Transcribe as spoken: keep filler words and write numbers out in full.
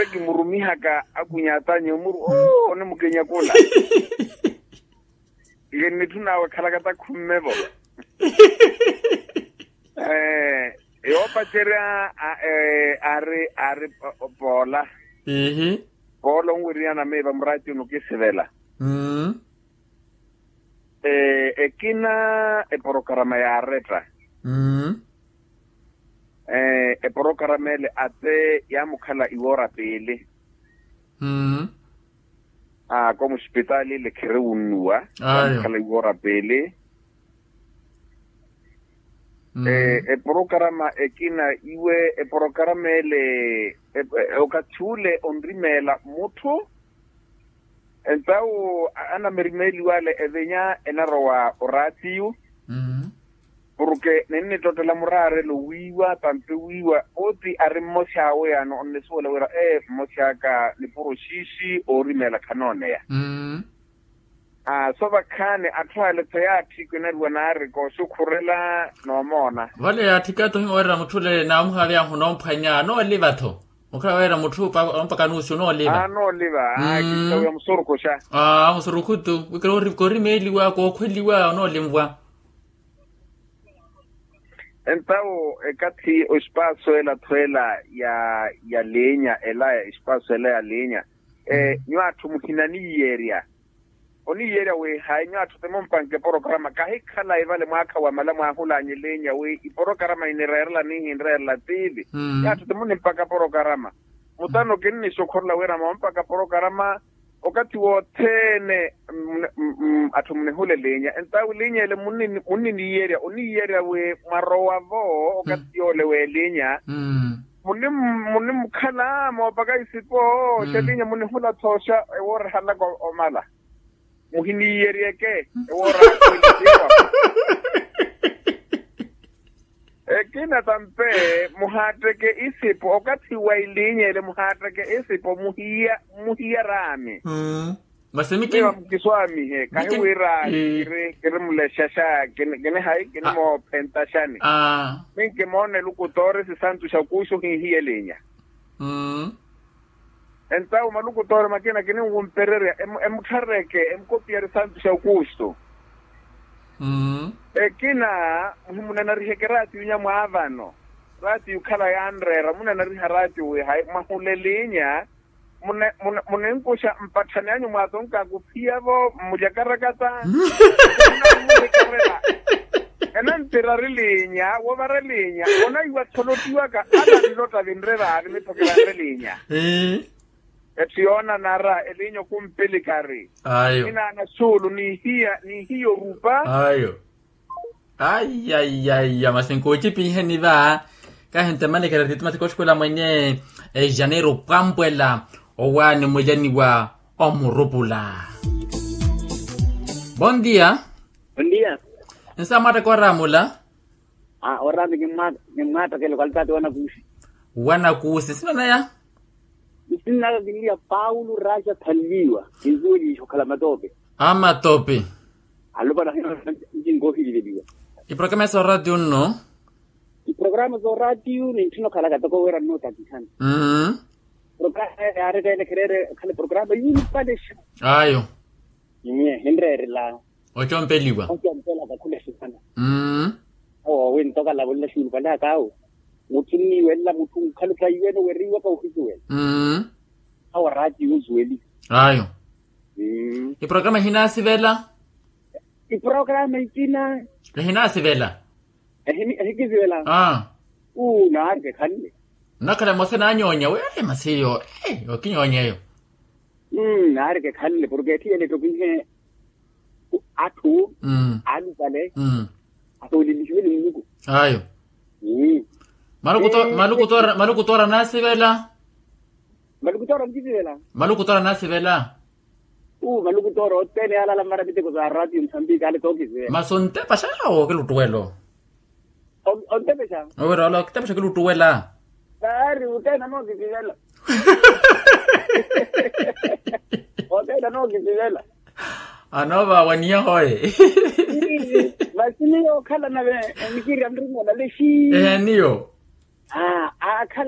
Kimurumihaka akunyatanye omuru oo onimukenyakula. Nge nnitthu nawe khalaka takhumme-vo. Yoopacerya ari ari poola. Poola onwiriyana miiva muraati onukisivela. Ekina eporokarama yaaretta. Eporokarama ele ate yaamukhala iwoora piili. Aa ko muspitaali ile khiriwunnuwa. Ayo. Yaamukhala iwoora piili. Eporokarama ekina iwe eporokarama ele okathi ule onrimeela mutthu. Entawu anamerimeeliwa ale evinya enarowa oraatiyu. Porke ninnittottela muraarelo wiiwa tampi wiiwa oti ari mmosi awe yaani onnisuwela wira ee mmosi aka nipuro xiixi oorimeela khanooneya. Aa so vakhaani atthu ale tho yaatthi kinariwa naari kooxukhurela noomoona. Vale yaatthika tho ohiwa weerela mutthu ole naamuhaaveya ahu noomphwanya nooliva tho. Okhala weera mutthu ompaka nuusi onooliva. Aa nooliva. Aa kittawiya musurukuxa. Aa musurukhu tu wikira korimeeliwa kookhweliwa onoolinvwa. Entawo ekathi ospaaso ela tho ela ya ya liinya ela ya espaaso ela ya liinya. Nyuwo atthu muhinaniiyerya oniiyerya wi hayi nyuwo atthu ti mumpanke eporokarama kahikhalayi vale mwaakha wamala mwaahulaanye eliinya wi iporokarama inireerela nihinreerela tiivi. Nyuwo atthu ti munimpaka porokarama. Mutano kinnixukhurela wira moompaka porokarama okathi wothene. Atthu munihula eliinya entawo eliinya ele munniniiyerya oniiyerya wi mwarowa-vo okathi yoole w'eliinya. Munimukhala moopaka isipo xelinya munihula thooxa ewoora ehalaka omala. Muhiniiyeryeke ewoora. Ekina tampe muhaatteke isipo okathi wa ilinya ele muhaatteke isipo muhiya muhiya raami. Masi mukiswaamihe kahiwira kiri kiri mulexaxa kini hayi kini moophentaxani. Minkimoona elukutoori sisantu xa kuuxu hihiya elinya. Entawo malukutoori makina kininwumpererya emutthareke emukopiyari santu xa okuuxu. Ekina muhimunanariheke eraatiyo nyamwaavano. Eraatiyo khala yanreera munanariha eraatiyo wi hayi mwahula elinya. Muninkuxa mpatthani anyu mwaatonka akuphiya-vo mmulya karakata. Enantirari linya wovara linya onaiwa tholottiwaka ala nlotta vinre vaavi mithokerari linya. Etthu yoonanara elinya okumpilikari. Ayo inaana xuulu nihiya nihiya orupa. Ayo. Aiyaiya masi nkuucipiiheni va. Kahintemanekera titimatika oxukhula mwenye ejaneiro pwampwela owaani mwejaniwa omurupula. Bon dia. Bon dia. Nsa mwaattaka oraamula. Oraami kimmwaattakela okalitaati wanakuusi. Wanakuusi nsina naya? Nsinaka kinliya paulo raja thanliwa. Kinsuwelixa okhala matoope. Amatopi. Alopana hino ncinkohiliveliwa. Iprograma ya sooraatiyo nno. Iprograma sooraatiyo nintthina okhalaka toko wira nnootakihana. Programa yaari teene khereere khale programa yuulupalexa. Ayo. Nye hinreerela. Ocompeliwa. Ocompelaka khulexihana. Awo wintoka lavolela xuulupalaka awo. Mutthu nniiwelela mutthu nkhalu taiwene weriwaka ohisuwela. Awo raati yuusuweliwa. Ayo. Iprograma ehinaasivela. Iprograma ikina. Ehinaasivela. Ehikisivela. Uu naari kekhanle. Nnakhala emosa enaanyoonya wi masi iyo. Okinyoonya eyo. Naari kekhanle porke etthiyele ettokihe. Atthu aalupale. Atoolelixiwe ni muluku. Ayo. Malukutoora malukutoora anaasivela. Malukutoora mukisivela. Malukutoora anaasivela. Uu malukutoora othene yaalala mmara miteko sa raatiyo musambiki ale tookisivela. Masi ontepaxa yaawo kiluttuwelo. Ontepexa. Owira ola okitepexa kiluttuwela. Naari othene anookisivela. Othene anookisivela. Anoovaawa niyahoye. Masi niyo okhala nave nikirya nrumwa nalexi. Ehe niyo. Aakhala.